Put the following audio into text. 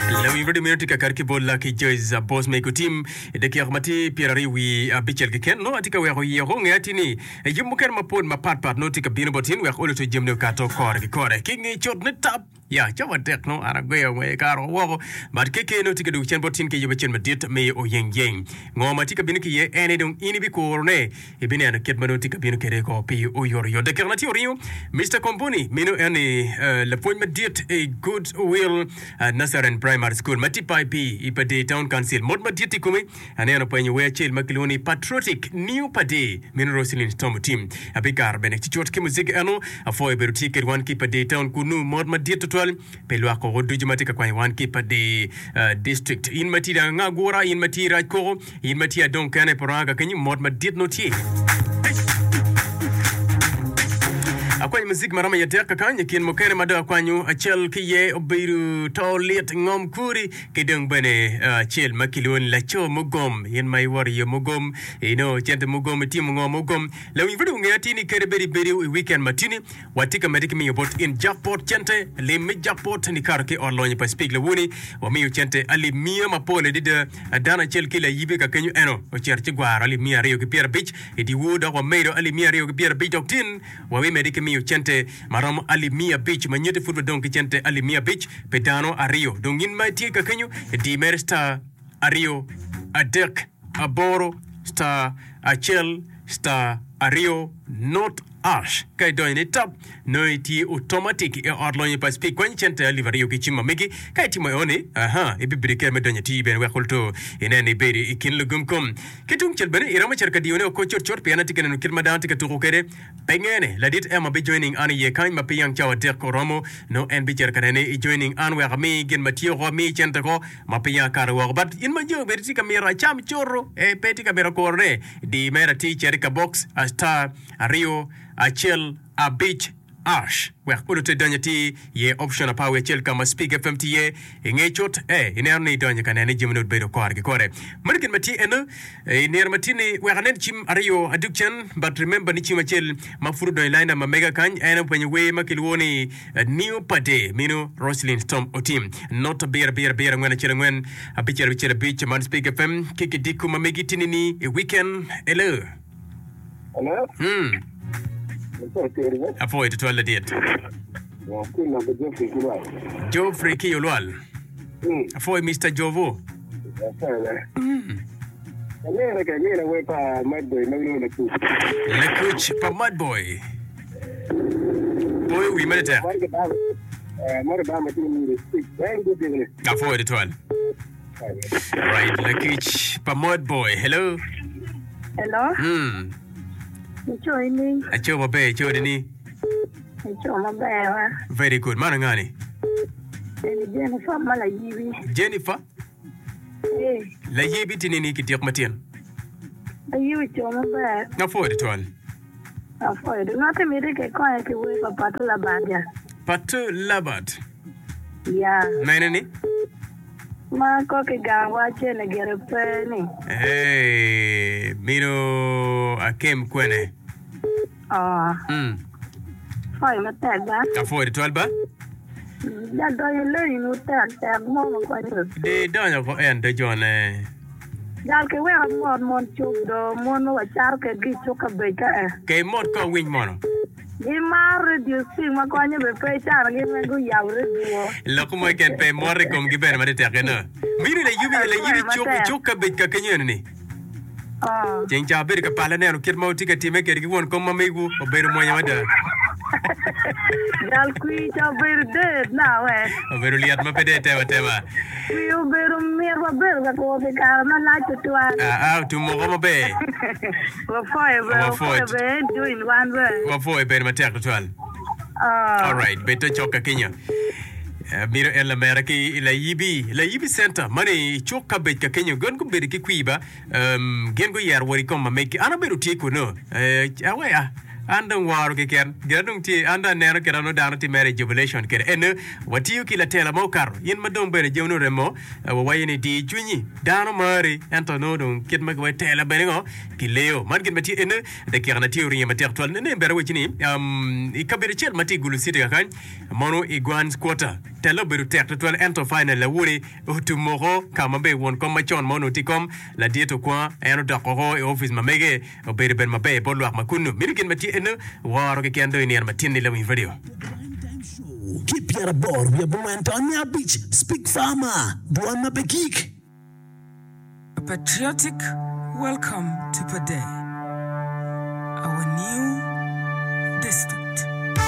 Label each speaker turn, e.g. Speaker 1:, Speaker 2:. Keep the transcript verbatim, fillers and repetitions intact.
Speaker 1: Lawiny Radio meno tye ka kati ki bot Lucky Joyce Boss Meko Team i dakika ma tye pyeraryo wi abicel keken nongo atye ka weko iye oko nge atir ni yub mukene mapol mapat pat nongo tye ka bino bot in wek olo to jamine okato kore ki kore ki nge cut ni tap ya cawa tek nongo an agweyo ngweye kare woko but K K nongo tye ka dwogo cen bot in ki yub acel madit me oyeng yeng ngo ma tye ka bino ki iye en aye dong in ibikurone ibineno kit ma nongo tye ka bino kwede ko pi oyotoyot. Dakika na tye oringo, Mister Komboni meno en ni eh, lapwony madit i Good Will uh, Nazarene Primary School ma tye P I P i Padee Town Council. Mot madit i kome, aneno penyo wer acel ma kilwongo ni Patriotic New Padee meno Roselyn Tom Otim. Abikaro bene ci cut ki muziki eno apwoyo bedo tye kwed wan ki Padee Town kunu mot madit tutwal pi lwak koko ducu ma tye ka kwanyo wan ki Padee uh, District. In ma tye dang agura, in ma tye rac koko, in ma tye adong kene i Poranga kenyo mot madit no tye. Akwanyo muzik ma romo i adek kakany i kin mukene ma dong akwanyo acel ki iye obedo to lit ngom kuri ki dong bene acel ma kilwongo ni laco mugom in ma iwoto i yo mugom inongo cente mugom itimo ngo mugom lawiny pud ongeyo atir ni kadi bed ibedo i weekend ma tini watye ka medde ki miyo bot in jackpot cente lim me jackpot nikato ki ot lonyo pa Speke Lawuni wamiyo cente alip miya mapol adada dano acel ki layibe ka kenyo eno ocito ci gwaro alip miya aryo ki pyerabic i dyewor dok wamedo alip miya aryo ki pyerabic dok tin wabimedde ki miyo cente ma romo alip miya abic ma nyutti pud wadong ki cente alip miya abic pi dano aryo dong in ma itye ka kenyo di mere star aryo adek aboro star acel star aryo not ash ka idonyo ni tap nongo itye automatic i ot lonyo pa Speke kwanyo cente alip aryo ki cim ma megi ka itimo eoni aha ibibedo kere me donyo tii bene wek oluto inen ibedo i kin lugum kom ki tung cel bene iromo cito ka diyone oko cutcut pien atye ka neno kit ma dano tye ka tuko kwede pe ngene ladit Emma bi joining an iye kany ma pe yang cawa adek oromo nongo en bicito ka nene i joining an wek ami gin ma tye oko ami cente ko ma pe yang akato woko but in ma jo bene tye ka mito acam cuto eh, pe tye ka mito kurone di mere atir cito i ka box a star aryo acel abic ash wek oluto idonyo atir ye option apar wiye acel ka ma Speke F M tye iye i nge cut eh ineno ni idonyo ka nene jami obedo kore ki kore meno gin ma tye eno i nino ma tye ni wek anen cim aryo aduk cen but remember ni cim acel ma pud odonyo i line ma mega kany en openyo wer ma kilwongo ni eh, New Pade mino Roselyn Storm Otim not abiro abiro abiro angwen acel angwen abicel abicel abic man Speke F M ki kidiko ma megi tini ni i weekend hello.
Speaker 2: Hello?
Speaker 1: Hmm. Apwoyo tutwal ladit. Geoffrey ki Olwal. Apwoyo Mister Jovo. Lakuc pa Mad Boy. Poyo wi mere tek. Apwoyo tutwal. Right, lakic pa Mad Boy. Hello.
Speaker 3: Hello.
Speaker 1: Mm.
Speaker 3: Ico ini.
Speaker 1: Aco maber, ico ni.
Speaker 3: Ico maber wa.
Speaker 1: Very good. Mano ngani?
Speaker 3: Eni Jennifer ma layibi.
Speaker 1: Jennifer?
Speaker 3: Eh.
Speaker 1: Layibi tini ni kityek matin.
Speaker 3: Layibi ico maber.
Speaker 1: Apwoyo tutwal.
Speaker 3: Apwoyo. Ngati miti ke konye ki wer pa Patu Labat ja.
Speaker 1: Patu Labat.
Speaker 3: Ya.
Speaker 1: Mene ni?
Speaker 3: Ma ko ki gang wa cene gire pe ni.
Speaker 1: Hey, mino akem kwene.
Speaker 3: Oh.
Speaker 1: Mm.
Speaker 3: Apwoyo matek ba.
Speaker 1: Apwoyo tutwal ba.
Speaker 3: Ja donyo leni mu tek tek mo ma kwanyo.
Speaker 1: Di donyo ko en do jone.
Speaker 3: Jal ki weko mot mon cuk do mon ma wacato kedgi i cuk ka bec ka e.
Speaker 1: Ke mot ko winy mono.
Speaker 3: Gimaro radio Speke ma konyo be pe cano gin weng guyabo radio.
Speaker 1: Lok mo keken pe mot i komgi bene ma tek eno. Mino layibi layibi
Speaker 3: Apwoyo
Speaker 1: cuk
Speaker 3: matek.
Speaker 1: cuk ka bec ka kenyo eno ni.
Speaker 3: Oh.
Speaker 1: Ceng ca abedo ka pala neno kit ma wutye ka time kwede ki won kom ma megwu obedo mwonya mada.
Speaker 3: Jal kwir ca obedo dead na we.
Speaker 1: Obedo lyet ma pe dong itemo atema.
Speaker 3: Kwir obedo mit wabedo ka kwo pi kare malac tutwal.
Speaker 1: Ah, ah, otum woko maber.
Speaker 3: Wapwoyo be,
Speaker 1: Wapwoyo.
Speaker 3: wapwoyo be, join wan be.
Speaker 1: Wapwoyo bedo matek tutwal.
Speaker 3: Ah.
Speaker 1: Alright, bed to cok ka kenyo. Eh, Miro en lamera ki layibi, layibi center mani i cuk ka bec ka kenyo gin gubedo ki kwir ba um, gin guyero wot i kom ma megi. An abedo tye kuno. Eh, aweya An dong woro keken. Gin dong tye, an dong aneno kit ma dano tye mere i jubilation kede. Ene, watiyo ki latela ma okato. In ma dong bene jami oremo, wawaco ni di cwinyi. Dano mari, ento nongo dong kit ma kiwaco tela bene ngo, kileo. Man gin ma tye ene, dakika na tye oringo matek twal. Nene bene awaci ni, um, i kabedo acel ma tye i Gulu City kakany, mono i Gwans Quarter, tela obedo tek tutwal, ento final awoni otumoko ka ma be won kom macon ma onongo tye kom ladit okwa, en odok oko i office ma mege, obedo bene maber bot lwak ma kunu. Meno gin ma tye eno, woro keken dong i nino matin-ni lawiny radio.
Speaker 2: Ki pyeraboro wiye abongwen ton me abic, Speak Farmer, dwon ma pe gik.
Speaker 4: A patriotic welcome to Pader, our new district.